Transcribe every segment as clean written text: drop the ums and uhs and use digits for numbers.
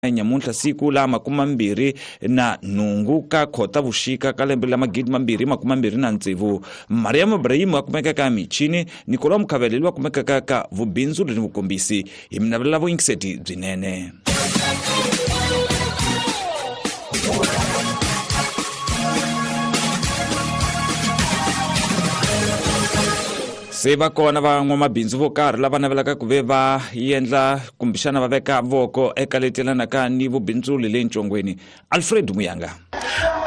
Nyamuntlha siku la 28 ka Khotavuxika ka lembe la 2026, Mariam Ibrahim a kumeka ka michini, Nicolas Mukhavele loyi a kumekaka ka vubindzuri ni vukombisi. Hi mi navelela vuyingiseti byinene. Se va kona van'wamabindzu vo karhi lava navelaka ku ve va endla kumbexana va veka voko eka leti yelanaka ni vubindzuli le Ncongweni. Alfred Muyanga.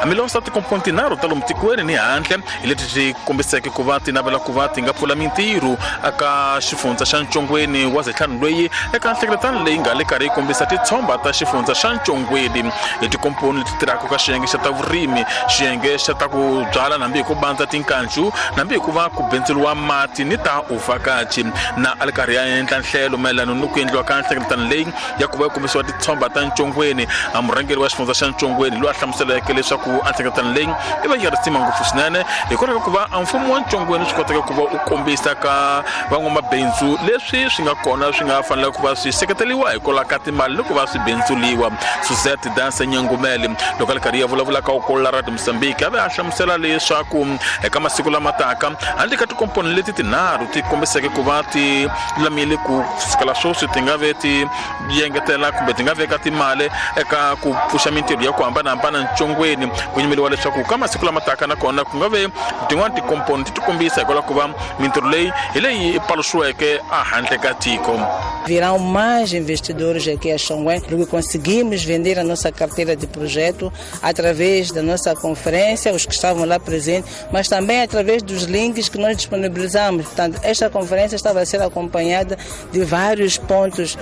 Hambiloko tikomponi tinharhu ta lomu tikweni ni handle hi leti ti kombiseke ku va ti navela ku va ti nga pfula mintirho eka xifundza xa Ncongweni wa Zetlhanu loyi eka nhlengeletano leyi nga le karhi yi kombisa titshomba ta xifundza xa Ncongweni hi tikomponi leti tirhaka ka xiyenge xa ta vurimi, xiyenge xa ta ku byala nambi hi ku bandza tinkanju, nambi hi ku va ku bindzuriwa mati ni ta uvhakachi. Na a li karhi ya endla nhlelo mayelana ni ku endliwa ka nhlengeletano leyi ya ku va yi kombisiwa titshomba ta Ncongweni, a murhangeri wa xifundza xa Ncongweni loyi a hlamuseleke leswaku a nhlengeletano leyi i va yi ri risima ngopfu swinene hikwalaho ka ku va a mfumo wa Ncongweni swi koteka ku va u kombisa ka van'wamabindzu leswi swi nga kona swi nga fanela ku va swi seketeriwa hikwalaho ka timali loko va swi bindzuliwa. Suzette Danse Nyangumele loko a ri karhi ya vulavula ka Ukolola Radio Mozambique a ve a hlamusela leswaku eka masiku lama taka handle ka tikomponi leti tinharhu ti kombiseke ku va ti lulamile ku sukela sweswi ti nga ve ti yengetela kumbe ti nga veka timali eka ku pfuxa mintirho ya ku hambanahambana Ncongweni, ku yimeriwa leswaku ka masiku lama taka nakona ku nga ve tin'wani tikomponi ti tikombisa hikwalaho ku va mintirho leyi hi leyi paluxiweke ehandle ka tiko. Virão mais investidores aqui a Chongoene, porque conseguimos vender a nossa carteira de projeto através da nossa conferência, os que estavam lá presentes, mas também através dos links que nós disponibilizamos. Portanto, esta conferência estava a ser acompanhada de vários pontos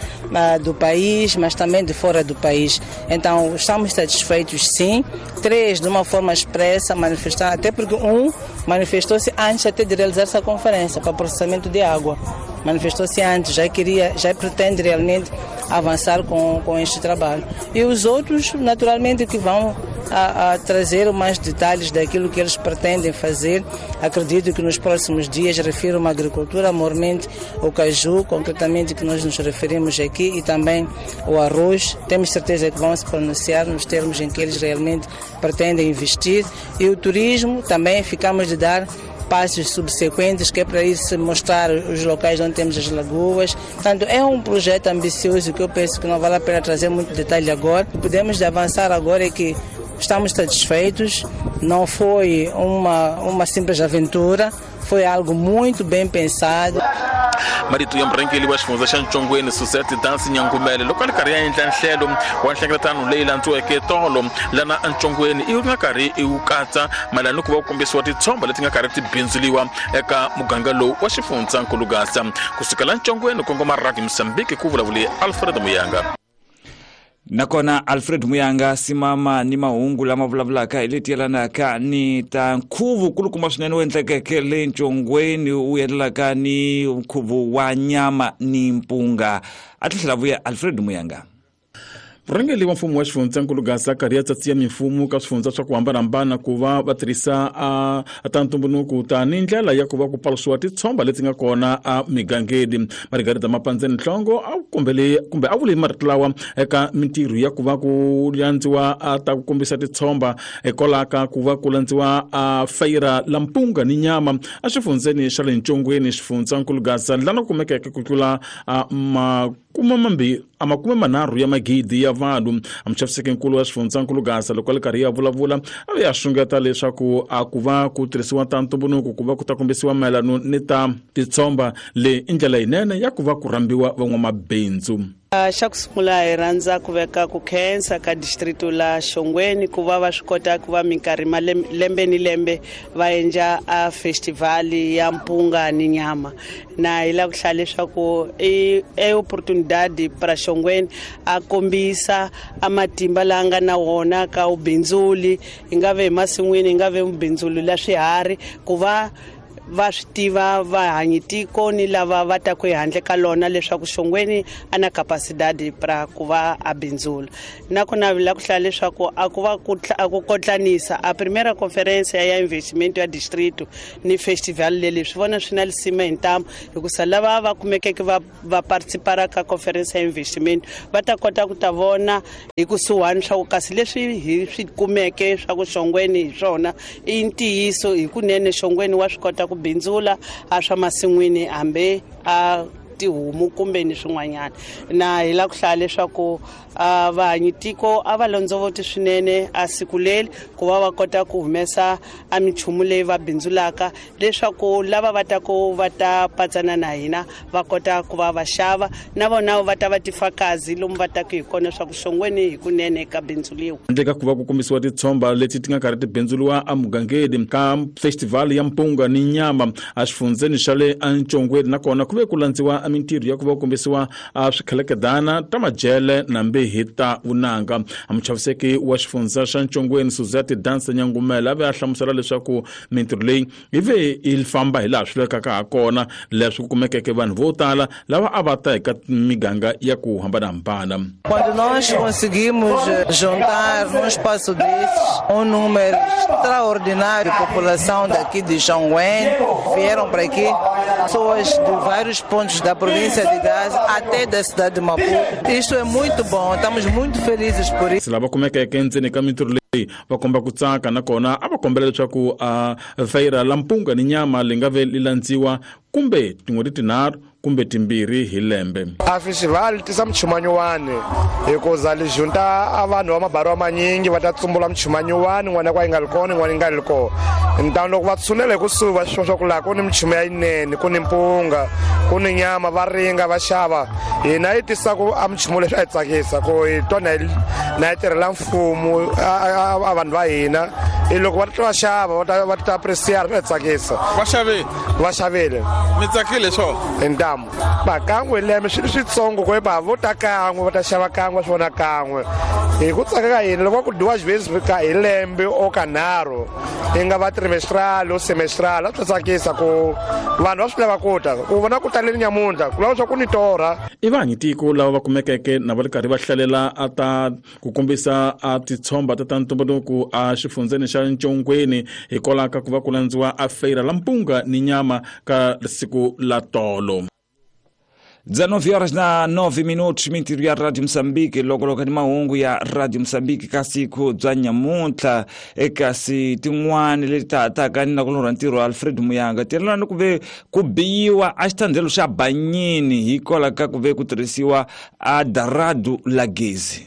do país, mas também de fora do país. Então, estamos satisfeitos, sim. 3, de uma forma expressa, manifestar, até porque um manifestou-se antes até de realizar essa conferência para processamento de água. Manifestou-se antes, já queria, já pretende realmente avançar com este trabalho. E os outros, naturalmente, que vão a trazer mais detalhes daquilo que eles pretendem fazer. Acredito que nos próximos dias, refiro-me à agricultura, maiormente o caju, concretamente que nós nos referimos aqui, e também o arroz. Temos certeza que vão se pronunciar nos termos em que eles realmente pretendem investir. E o turismo também ficamos de dar passos subsequentes, que é para isso mostrar os locais onde temos as lagoas. Portanto, é um projeto ambicioso que eu penso que não vale a pena trazer muito detalhe agora. Podemos avançar agora é que estamos satisfeitos, não foi uma simples aventura, foi algo muito bem pensado. Marito ya murhangeri wa xifundza xa Ncongweni Suzette Dansi Nyangumele loko a ri karhi ya endla nhlelo wa nhlengeletano leyi landziweke tolo lana eNcongweni i nga karhi i wu katsa mayelana ni ku va ku kombisiwa titshomba leti nga karhi ti bindzuliwa eka muganga lowu wa xifundza Nkulugasa. Kusukela Ncongweni kongoma Radio Mozambique, ku vulavule Alfred Muyanga. Nakona Alfred Muyanga simama ni mahungu lama vulavulaka hi leti yelanaka ni ta nkhuvo kulukumba swinene wu endlekeke le Ncongweni, wu yelanaka ni nkhuvo wa nyama ni mpunga. A tlhela vuya Alfred Muyanga. Murhangeri wa mfumo wa xifundza Nkulugasa karhi ya tsatsiya mimfumo ka swifundza swa ku hambanahambana ku va va tirhisa a ta ntumbuluko tani ndlela ya ku va ku paluxiwa titshomba leti nga kona a migangeni. Margarita Mapandzeni Nhlongo a kombele kumbe a vule marito lawa eka mintirho ya ku va ku landziwa a ta ku kombisa titshomba hikwalaho ka ku va ku landziwa a fayira la mpunga ni nyama a xifundzeni xa le Ncongweni, xifundza Nkulugasa, lana ku kumekeke ku tlula a makume manharhu ya magidi ya vanhu. A muchaviseki-nkulu wa xifundza Nkulugasa loko a ri karhi ya vulavula a ve a xungeta leswaku a ku va ku tirhisiwa ta ntumbuluko ku va ku ta kombisiwa mayelano ni ta titshomba leyi i ndlela yinene ya ku va ku rhambiwa van'wamabindzu. Xa ku sungula hi rhandza ku veka ku khensa ka distrito la Xongweni ku va va swi kota ku va minkarhi lembe ni lembe va endla a festival ya mpunga ni nyama. Na hi lava ku hlaya leswaku i oportunidade para Xongweni a kombisa a matimba lawa nga na wona ka vubindzuli, hi nga ve emasin'wini, hi nga ve vubindzuli la swiharhi, ku va va swi tiva vahanyitiko ni lava va taku ehandle ka lona leswaku Shongweni a na capacidade pra ku va a bindzula. Nakona la ku hlaya leswaku a ku va a ku kotlanisa a primeira conferência ya investimento ya distrito ni festival leli swi vona swi na lisima hi ntamu, hikusa lava va kumekeke va participara ka conference ya investimento va ta kota ku ta vona hi kusuhani swa ku kasi leswi hi swi kumeke swa ku Shongweni hi swona i ntiyiso hikunene Shongweni wa swi kota ku bindzula a swa masin'wini hambi a tihomu kumbe ni swin'wanyana. Na hi la ku hlaya leswaku vahanyitiko a va londzovoti swinene a siku leri ku va va kota ku humesa a minchumu leyi va bindzulaka leswaku lava va taku va ta patsana na hina va kota ku va va xava na vona va ta va tifakazi lomu va taku hi kona swa ku Shongweni hikunene ka bindzuliwa. Handle ka ku va ku kombisiwa titshomba leti ti nga karhi ti bindzuliwa emugangeni ka festival ya mpunga ni nyama exifundzeni xa le eNtshongweni, nakona ku ve ku landziwa mintirho ya ku va ku kombisiwa swikheleketana ta majele na mbihi ta vunanga. Muchaviseki wa xifundza xa Ntshongweni Suzette Dansa Nyangumela a ve a hlamusela leswaku mintirho leyi yi ve yi famba hi laha swi lavekaka ha kona, leswi ku kumekeke vanhu vo tala lava a va ta eka miganga ya ku hambanahambana. Quando nós conseguimos juntar num espaço desses um número extraordinário de população daqui de Shongweni, vieram para aqui pessoas de vários pontos da província de Gaza até da cidade de Maputo. Isto é muito bom, estamos muito felizes por isso. Lava kumekeke endzeni ka mintirho leyi va komba ku tsaka, nakona a va kombela leswaku a feira la mpunga ni nyama li nga ve li landziwa kumbe tin'hweti tinharhu kumbe timbirhi hi lembe. A festival yi tisa minchumu nyuwani hikuza li junta a vanhu va mabarwa manyingi va ta tsumbula minchumu nyuwani, n'wana kwa yi nga ri kona, n'wana yi nga ri kona. Ntano loko va tshunela hi kusuhi va swi swa ku laha ku ni minchumu ya yinene, ku ni mpunga, ku ni nyama, va ringa va xava. Hina yi tisa ku a minchumu leswi a yi tsakisa ku hi twa na yi tirhela mfumo a vanhu va hina. I loko va ta va xava va ta appreciate, swa hi tsakisa. Va xavile? Va xavile. Mi tsakile swona? Hi ntamu. Va kan'we hi lembe swi switsongo ku va vo ta kan'we va ta xava kan'we va swi vona kan'we. Hi ku tsaka ka hina loko va ku dyiwa xivezi ka hi lembe o ka nharhu yi nga va trimestral o semestral, a swi tsakisa ku vanhu va swi lava ku ta ku vona ku taleni nyamuntlha ku lava swa ku ni torha. I vahanyitiko lava va kumekeke na va ri karhi va hlalela a ta ku kombisa a titshomba ta ntumbuluko a xifundzeni xa Ntshongweni hikwalaho ka ku va ku landziwa a feira la mpunga ni nyama ka siku la tolo. 19 horas na 9 minutos, mintirho ya Radio Moçambique, loko loko ni mahungu ya Radio Moçambique ka siku bya nyamuntlha. Eka si tin'wani leti tataka ni na ku lorha ntirho Alfred Muyanga tirhelana ni ku ve ku biyiwa a xithandzelo xa Banyini hikwalaho ka ku ve ku tirhisiwa a daradu la gezi.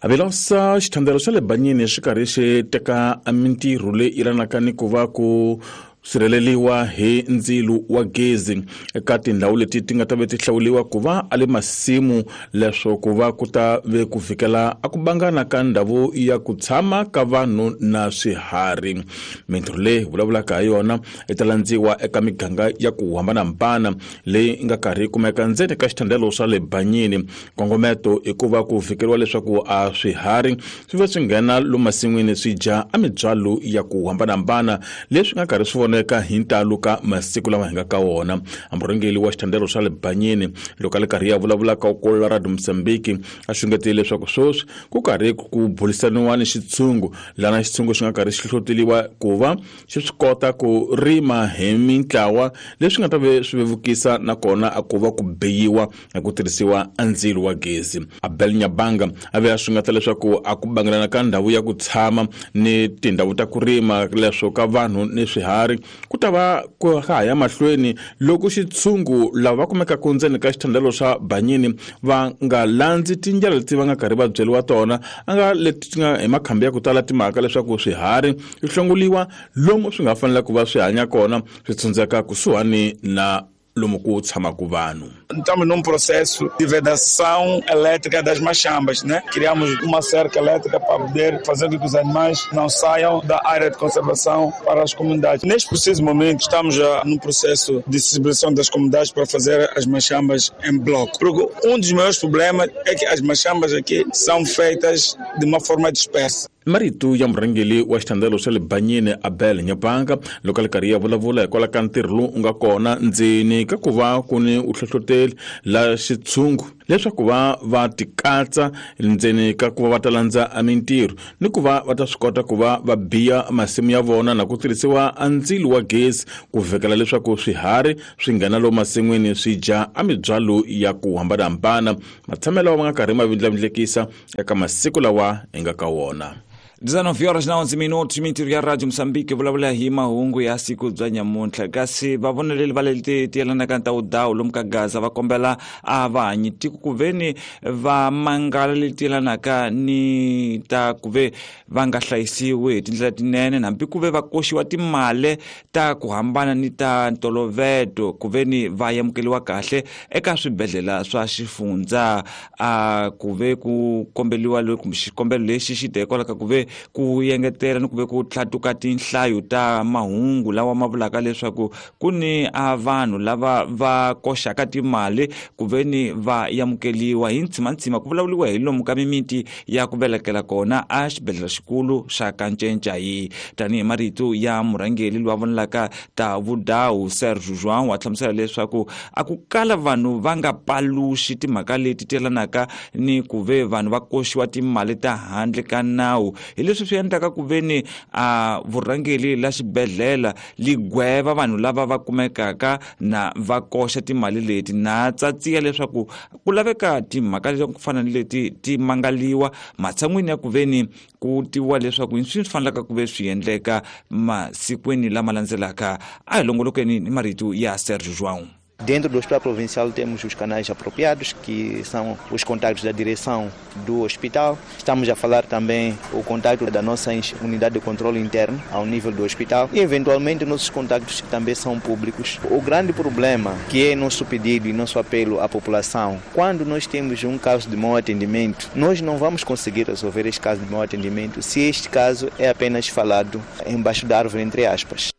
Avilosa xithandzelo xa le Banyini xi karhi xi teka mintirho leyi yelanaka ni ku va ku sirheleliwa hi ndzilo wa gezi eka tindhawu leti ti nga ta ve ti hlawuliwa ku va a le masimu, leswaku va ku ta ve ku fikela a ku bangana ka ndhawu ya ku tshama ka vanhu na swiharhi. Mintirho leyi vulavulaka ha yona yi ta landziwa eka miganga ya ku hambanahambana leyi nga karhi yi kumeka ndzeni ka xithandzelo swa le Banyini. Nkongometo i ku va ku fikeriwa leswaku a swiharhi swi va swi nghena lomu masin'wini swi dya a mibyalo ya ku hambanahambana leswi nga karhi swi vona eka hi ntalo ka masiku lama hi nga ka wona. Murhangeri wa xithandzelo xa le Banyini loko a le karhi ya vulavula ka ku Radio Moçambique a xungetile leswaku sweswi ku karhi ku burisaniwa ni xitshungu, lana xitshungu xi nga karhi xi hlohloteliwa ku va xi swi kota ku rima hi mintlawa leswi nga ta ve swi vevukisa nakona a ku va ku biyiwa hi ku tirhisiwa ndzilo wa gezi. Abel Nyabanga a ve a xungeta leswaku a ku bangelana ka ndhawu ya ku tshama ni tindhawu ta ku rima leswo ka vanhu ni swiharhi ku ta va ku ha ya mahlweni loko xitshungu lava va kumekaka ndzeni ka xithandzelo xa Banyini va nga landzi tindlela leti va nga karhi va byeriwa tona, a nga leti ti nga hi makhambi ya ku tala timhaka leswaku swiharhi swi hlongoliwa lomu swi nga fanela ku va swi hanya kona swi tshundzeka kusuhani na lomu ku tshamaka vanhu. Estamos num processo de vedação elétrica das machambas, né? Criamos uma cerca elétrica para poder fazer com que os animais não saiam da área de conservação para as comunidades. Neste preciso momento, estamos já num processo de sensibilização das comunidades para fazer as machambas em bloco. Porque um dos maiores problemas é que as machambas aqui são feitas de uma forma dispersa. Marito ya murhangeri wa xithandelo xa le Banyini Abel Nyabanga loko a ri karhi ya vulavula hikwalaho ka ntirho lowu u nga kona ndzeni ka ku va ku ni u hlohloteli la xitshungu leswaku va va tikatsa ndzeni ka ku va va ta landza mintirho ni ku va va ta swi kota ku va va biya masimu ya vona na ku tirhisiwa a ndzilo wa gezi ku vhekela leswaku swiharhi swi nghena lomu masin'wini swi dya a mibyalo ya ku hambanahambana matshamelo lawa ma nga karhi ma vindlavindlekisa eka masiku lawa hi nga ka wona. 19 horas na 11 minutos, mintirho ya Radio Moçambique vulavula hi mahungu ya siku bya nyamuntlha. Kasi vavoneleli va leti ti yelanaka ta wudawu lomu ka Gaza va kombela a vahanyi tiko ku veni va mangala leti yelanaka ni ta ku ve va nga hlayisiwi hi tindlela tinene, hambi ku ve va koxiwa timali ta ku hambana ni ta ntoloveto ku veni va amukeriwa kahle eka swibedhlele swa xifundza. A ku ve ku kombeliwa kumbe xikombelo lexi xi te hikwalaho ka ku ve ku engetela ni ku ve ku tlhatuka tinhlayo ta mahungu lawa ma vulaka leswaku ku ni a vanhu lava va koxaka timali ku ve ni va amukeriwa hi ntsimantsima. Ku vulavuriwa hi lomu ka mimiti ya ku velekela kona a xibedhlele xikulu xa Kanchenchayi. Tanihi marito ya murhangeri loyi a vonelaka ta vudawu Sergio João wa hlamusela leswaku a ku kala vanhu va nga paluxi timhaka leti ti yelanaka ni ku ve vanhu va koxiwa timali ta handle ka nawu, hi leswi swi endlaka ku ve ni a vurhangeri la xibedhlele li gweva vanhu lava va kumekaka na va koxa timali leti, na tsatsiya leswaku ku laveka timhaka leti ku fana ni leti ti mangaliwa matshan'wini ya ku ve ni ku tiviwa leswaku swi fanelaka ku ve swi endleka masikwini lama landzelaka. A hi longolokeni ni marito ya Sergio João. Dentro do Hospital Provincial temos os canais apropriados, que são os contactos da direção do hospital. Estamos a falar também o contacto da nossa unidade de controle interno ao nível do hospital e, eventualmente, nossos contactos que também são públicos. O grande problema, que é nosso pedido e nosso apelo à população, quando nós temos um caso de mau atendimento, nós não vamos conseguir resolver este caso de mau atendimento se este caso é apenas falado embaixo da árvore, entre aspas.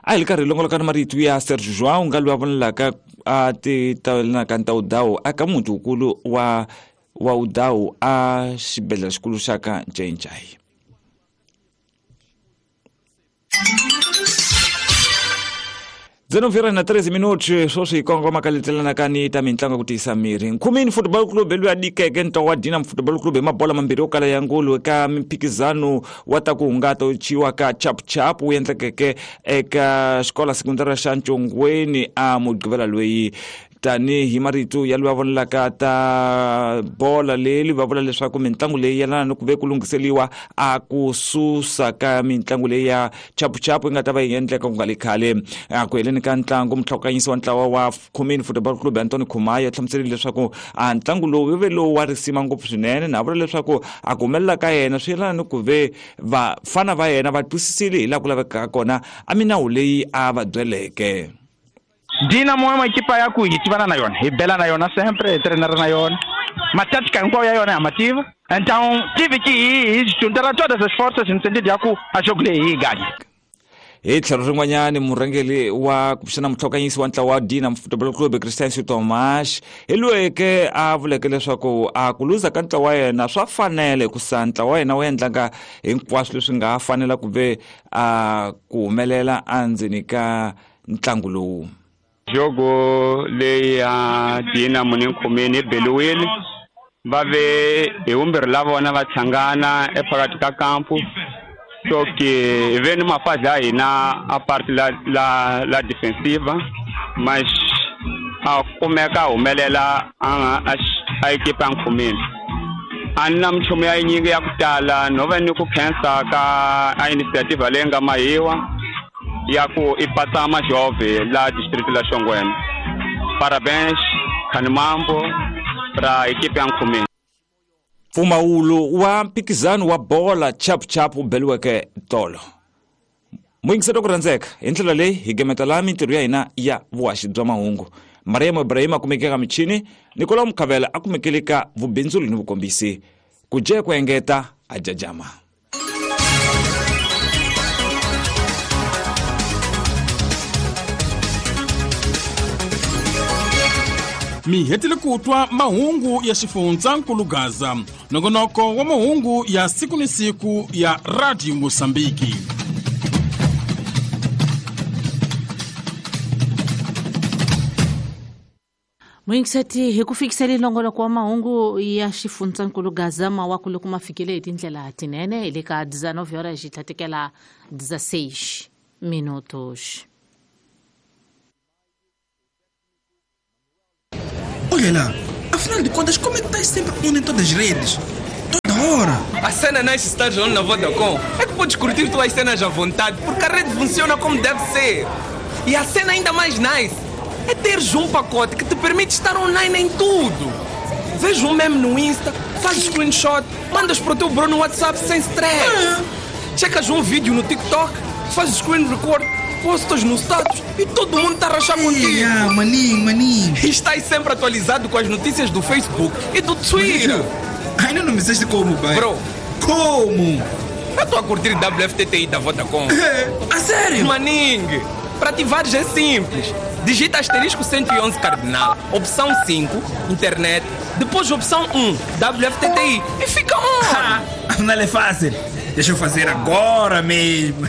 A hi ri karhi longoloka ni marito ya Sergio João nga loyi a vonelaka a ti tavelanaka ta wudawu aka muti wukulu wa wudawu a xibedhlele xikulu xa ka Ncencai. 19 na 13 minutos sweswi hi kongoma ka letelanaka ni ta mitlangu ku tiyisa miri. Nkhumini Football Club loyi a dikeke ntlawa wa Dinam Football Club hi mabola mambirhi yo kala ya ngulu eka mimphikizano wa ta ku hungata wu chiwa ka Chap Chap wu endlekeke eka xikola sekundara xa Ntshongweni a Mugqivela loyi. Tanihi marito ya loyi a vonelaka ta bola leyi va vula leswaku mitlangu leyi yelana ni ku ve ku lunghiseliwa a ku susa ka mitlangu leyi ya chapuchapu yi nga ta va yi endleka ku nga le khale. A ku heleni ka ntlangu, mutlhokanyisi wa ntlawa wa Khumini Football Club Antoni Khumaya hlamuserile leswaku a ntlangu lowu wu ve lowu wa risima ngopfu swinene, na vula leswaku a ku humelela ka yena swi yelana ni ku ve vafana va yena va twisisile hi laha ku lavekaka kona a minawu leyi a va byeleke. Dinamo é uma equipa ya ku hi tivana na yona, hi bela na yona sempre, hi treinara na yona. Matática hinkwayo ya yona ya mativa. Então tive que ir juntar todas as forças no sentido ya ku a jogo leyi hi ganha. Hi tlhelo rin'wanyani, murhangeri wa kumbexana mutlhokanyisi wa ntlawa wa Dinam Football Club Christian Tomas hi loyeke a vuleke leswaku a ku luza ka ntlawa wa yena swa fanele hikusa ntlawa wa yena wu endlanga hinkwaswo leswi nga fanela ku ve a ku humelela endzeni ka ntlangu lowu. Jogo leyi ya Dinamo ni Nkhumini yi beliwile, va ve hi vumbirhi la vona va hlangana ephakathi ka kampu. So ke ve ni mafadhi ya hina a parte la defensiva, mas a kumeka a humelela a ekipa ya Nkhumini. A ni na minchumu ya yinyingi ya ku tala, no va ni ku khensa ka a initiative leyi nga mahiwa ya ku i patsa majove la district la Xongweni. Parabéns Khanimambo ra ekipa ya Nkhumini. Mpfumawulo wa mphikizano wa bola Chap Chap wu beliweke tolo. Muyingiselo ku rhandzeka hi ndlela leyi hi gemeta laha mintirho ya hina ya vuhaxi bya mahungu. Mariam Ibrahim a kumeke ka michini, Nicolau Mukhavela a kumekele ka vubindzuli ni vukombisi. Ku dye ku engeta a jajama. Mi hetile ku twa mahungu ya xifundzankulu Gaza, nongonoko wa mahungu ya siku ni siku ya Radio Mosambiki. Muyingiseti, hi ku fikisele nongonoko wa mahungu ya xifundzankulu Gaza, mawaku loko ma fikile hi tindlela tinene hi le ka 19 horas xi tlhatekela 16 minutos. Olha lá, afinal de contas, como é que estás sempre on em todas as redes? Toda hora! A cena nice estás on na Vodacom é que podes curtir tuas cenas à vontade, porque a rede funciona como deve ser. E a cena ainda mais nice é teres um pacote que te permite estar online em tudo. Vês um meme no Insta, fazes screenshot, mandas para o teu bro no WhatsApp sem stress. Checas um vídeo no TikTok, fazes screen record, postas no status e todo mundo está a rachar contigo. Ah, maninho, maninho. E estás sempre atualizado com as notícias do Facebook e do Twitter. Ainda não me disseste como, pai. Bro. Como? Eu estou a curtir WFTTI da Vodacom. A sério? Maningue, para ativares é simples. Digita asterisco 111 cardinal, opção 5, internet, depois opção 1, WFTTI e fica on. Não é fácil. Deixa eu fazer agora mesmo.